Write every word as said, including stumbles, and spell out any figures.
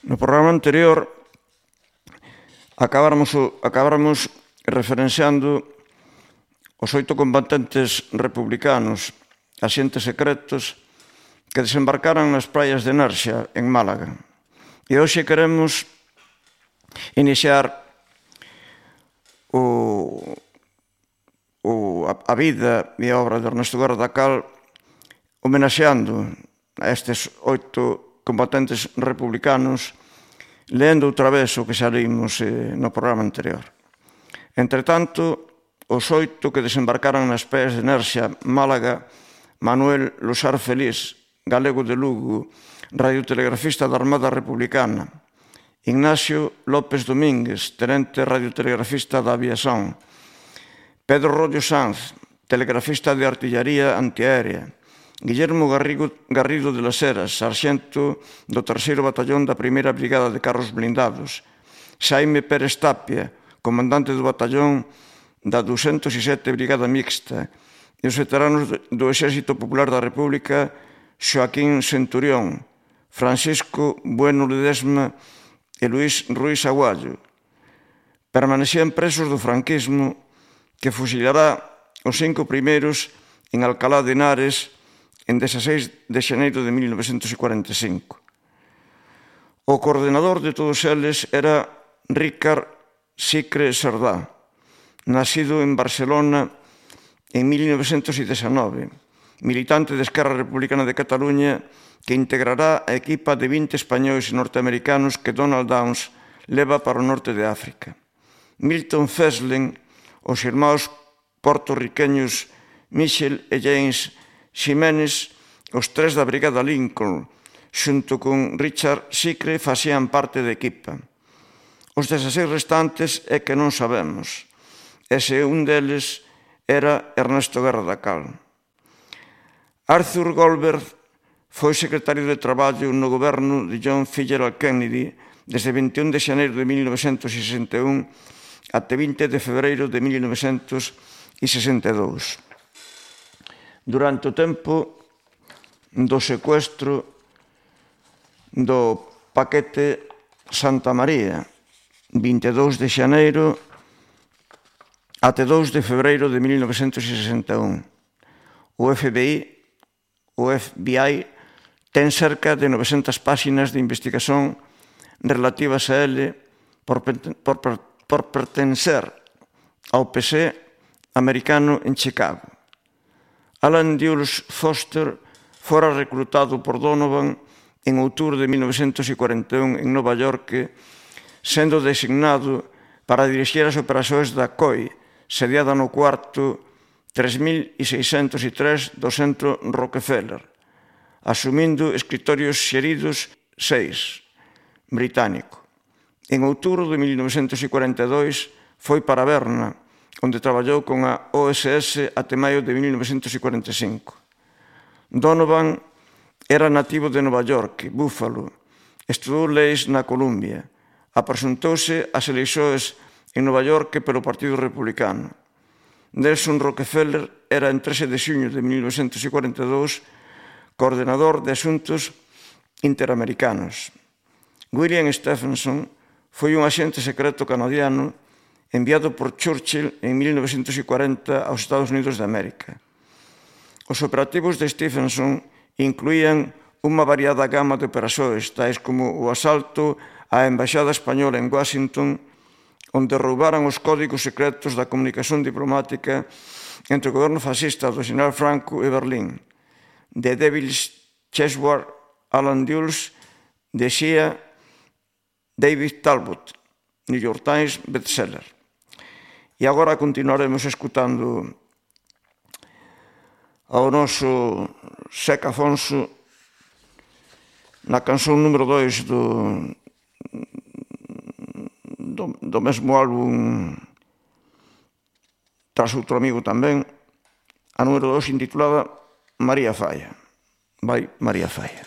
No programa anterior acabáramos, acabáramos referenciando os oito combatentes republicanos, axentes secretos, que desembarcaran nas praias de Nerxa, en Málaga. E hoxe queremos iniciar o, o, a vida e a obra de Ernesto Guerra da Cal homenaxeando a estes oito combatentes republicanos, leendo outra vez o que xa leímos eh, no programa anterior. Entretanto, os oito que desembarcaran nas praias de Nerxa, Málaga: Manuel Losar Feliz, galego de Lugo, radiotelegrafista da Armada Republicana; Ignacio López Domínguez, tenente radiotelegrafista da Aviación; Pedro Rollo Sanz, telegrafista de artillaría antiaérea; Guillermo Garrido de las Heras, sarxento do terceiro batallón da primeira brigada de carros blindados; Xaime Pérez Tapia, comandante do batallón da duzentos e sete Brigada Mixta; e os veteranos do Exército Popular da República: Xoaquín Centurión, Francisco Bueno Ledesma e Luís Ruiz Aguayo. Permanecían presos do franquismo, que fusilará os cinco primeiros en Alcalá de Henares en dezaseis de xaneiro de mil novecentos e cuarenta e cinco. O coordenador de todos eles era Ricard Sicre Serdá, nacido en Barcelona en mil novecentos e dezenove, militante de Esquerra Republicana de Cataluña, que integrará a equipa de vinte españois e norteamericanos que Donald Downs leva para o norte de África. Milton Feslen, os irmãos portorriqueños Michel e James Ximénez, os tres da Brigada Lincoln, xunto con Richard Sicre, facían parte da equipa. Os dezaseis restantes é que non sabemos, e se un deles era Ernesto Guerra da Cal. Arthur Goldberg foi secretario de Traballo no goberno de John Fitzgerald Kennedy desde vinte e un de xaneiro de mil novecentos e sesenta e un até vinte de febreiro de mil novecentos e sesenta e dous. Durante o tempo do secuestro do paquete Santa María, vinte e dous de xaneiro até dous de febreiro de mil novecentos e sesenta e un. O F B I, o F B I ten cerca de novecentas páxinas de investigación relativas a ele por, por, por pertencer ao P S americano en Chicago. Alan Dulles Foster fora reclutado por Donovan en outubro de mil novecentos e cuarenta e un en Nova York, sendo designado para dirixir as operacións da C O I, sediada no cuarto tres mil seiscentos e tres do Centro Rockefeller, asumindo escritorios xeridos seis, británico. En outubro de mil novecentos e cuarenta e dois foi para Berna, onde traballou con a O S S até maio de mil novecentos e cuarenta e cinco. Donovan era nativo de Nova York, Buffalo, estudou leis na Columbia, apresentouse ás eleições en Nova York pelo Partido Republicano. Nelson Rockefeller era en trece de xuño de mil novecentos e cuarenta e dous coordenador de asuntos interamericanos. William Stephenson foi un axente secreto canadiano enviado por Churchill en mil novecentos e cuarenta aos Estados Unidos de América. Os operativos de Stephenson incluían unha variada gama de operacións, tais como o asalto á Embaixada Española en Washington, onde roubaran os códigos secretos da comunicación diplomática entre o goberno fascista do xeneral Franco e Berlín. The Devil's Chessboard, Alan Dulles, decía David Talbot, New York Times bestseller. E agora continuaremos escutando ao noso Seca Afonso na canción número dois do, do, do mesmo álbum Tras outro amigo tamén, a número dos intitulada María Falla. Vai María Falla.